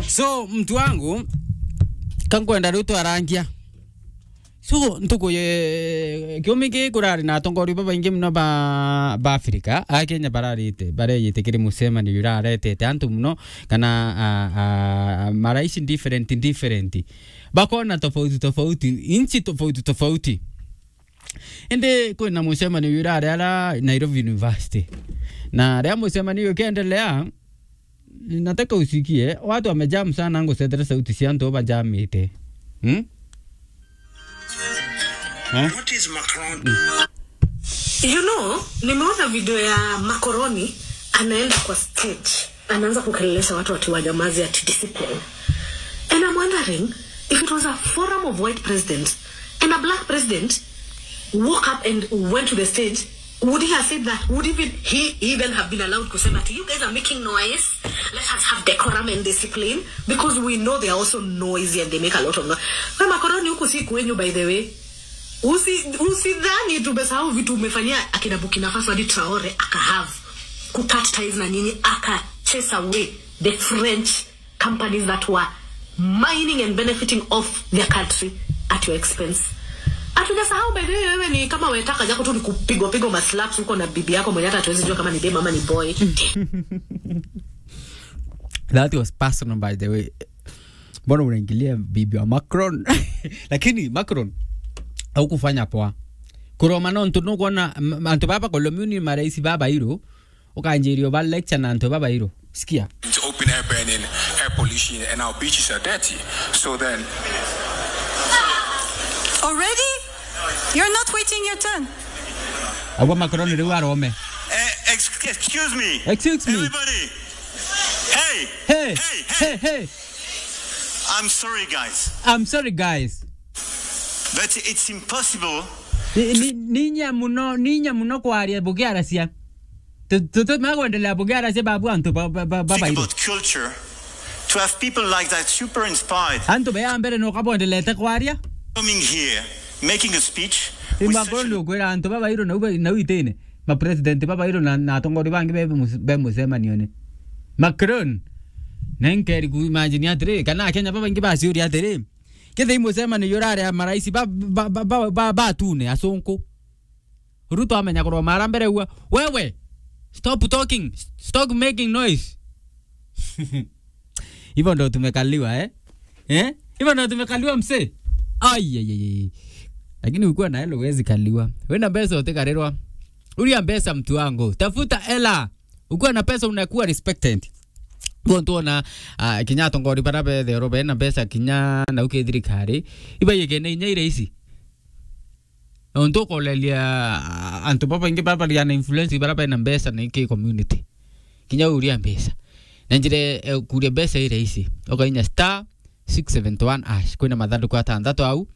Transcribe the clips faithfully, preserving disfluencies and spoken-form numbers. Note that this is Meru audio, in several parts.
So, mtu wangu, kankwenda riu twarangia. So, ntuku ye, kiumia giki kurari na atongoria babaingi muno ba, ba Africa, a Kenya bararite, bareyite kiri mucemanio juraretete antu muno, kana, a, a, marais different, different. Bakona tofauti tofauti, inchi tofauti tofauti. Indi kwina mucemanio jurari ara Nairobi University. Na riria mucemanio ukiendelea, nataka usikie, watu wamejam sana, ngucethera sauti cia antu bajamite. Hmm? Eh? What is Macron? You know, nimeona video ya Macron anaenda kwa stage, anaanza kukelelesha watu ati wanyamaze, ati discipline. And I'm wondering, if it was a forum of white presidents and a black president woke up and went to the stage, would he have said that? Would even he even have been allowed to say that? You guys are making noise. Let us have decorum and discipline, because we know they are also noisy and they make a lot of noise. Wewe Macron, huku si kwenyu, by the way. Usi-, usidhani tumesahau vitu umefanyia akina Burkina Faso hadi Traore akahave kucut ties na nyinyi, aka chase away the French companies that were mining and benefiting off their country at your expense. Hatujasahau, by the way, wewe ni kama wetaka jako tu ni kupigwa pigwa maslaps huko na bibi yako mwenye hata hatuwezi jua kama ni dem ama ni boy. That was personal, by the way. Mbona unaingilia bibi wa Macron? Lakini Macron, haukufanya poa. Kuroma nontu nukwona, m-, antu baba kolomuni marais baba iru, ukanjiria uba lecture na antu baba iru. Sikia. It's open air burning, air pollution, and our beaches are dirty. So then, already? You're not waiting your turn. Agwa Macron riu arome. Eh, ex-, excuse me. Excuse me. Everybody. Hey. Hey. Hey, hey. Hey, hey. I'm sorry, guys. I'm sorry, guys. But it's impossible. Ni, ni, ninya muno, ninya muno kwaria bukiaracia. Tu, tu, tu, magwendelea bukiaracia babu antu ba, ba, ba, ba, think about culture. To have people like that super inspired. Antu bea mbere no kabwendelete kwaria. Coming here, making a speech. With such a imakondo kwira antu babairu na uba, na uitine. Ma president babairu na, na atongori bangi be, be mucemanione. Macron. Na nkeri ku imagine atiri, kana Kenya babaingi baciuria atiri. Kethira i mucemanio jurari a marais ba, ba, ba, ba, ba, batune, acunku. Ruto amenya kuroma ara mbere ua, "Wewe, stop talking, stop making noise." Hivyo ndo tumekaliwa, eh? Eh? Hivyo ndo tumekaliwa, mse? Ai, ai, ai, ai. Lakini ukiwa na hela huwezi kaliwa. Wena pesa utikarirwa. Uria pesa, mtu wangu. Tafuta hela. Ukiwa na pesa unakuwa respected. Bo ntuona, ah, kinya atongori bara bethe oro bena mbeca kinya na uke thirikari. Iba yekene inya ira ici. Nontu ukoreria, ah, antu babaingi bara bari na influence bara bena mbeca na iki community. Kinya uria mbeca. Na njira, eh, kuria mbeca ira ici. Ukainya star six seventy one hash. Kwina mathanduku atanthatu au.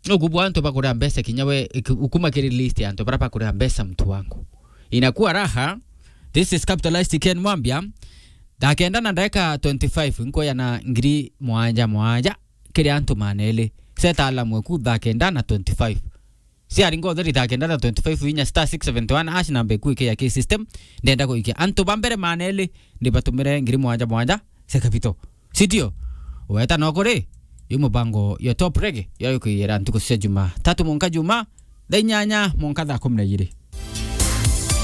Nukubwa antu bakuria mbeca kinya we, iki-, ukuma kiri list ya antu bara bakuria mbeca, mtu wangu. Inakuwa raha. This is Capitalist Ken Mwambia. Thaa kenda na ndagika twenty-five, nkoya na ngiri mwanja mwanja kiri antu maneli. Seta alamu eku thaa kenda na twenty-five. Siari ngotheri thaa kenda na twenty-five, inya star six seventy one hash namba eku ikiya ki system. Ndenda kuikia antu ba mbere maneli, ndibatumire ngiri mwanja mwanja cia capital. Sindio? Weta no kuri, yu mubango ya Top Reggae, ya kwiyira ntuku cia Juma tatu mwanka Juma, thaa inyanya mwanka thaa kumi na igiri.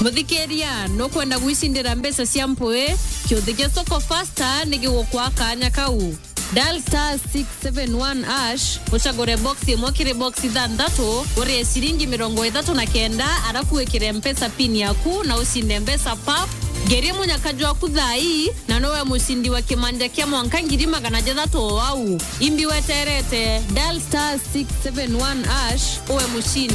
Muthikiria, nukwenda gwicindira mbeca cia mpui? Kiuthi gia Soko Faster ni gigukwa kanya kau. Dial star six seven one hash, ucagure box imwe kiri box ithanthatu, urie ciringi mirongo ithatu na kenda, arafu wikire Mpesa pin yaku na ucinde mbeca pap. Ngerie munyaka jwaku thaa ii, na nowe mucindi wa kimanja kia mwanka ngiri magana jathatu o au. Imbi weterete, dial star six seven one hash, uwe mucindi.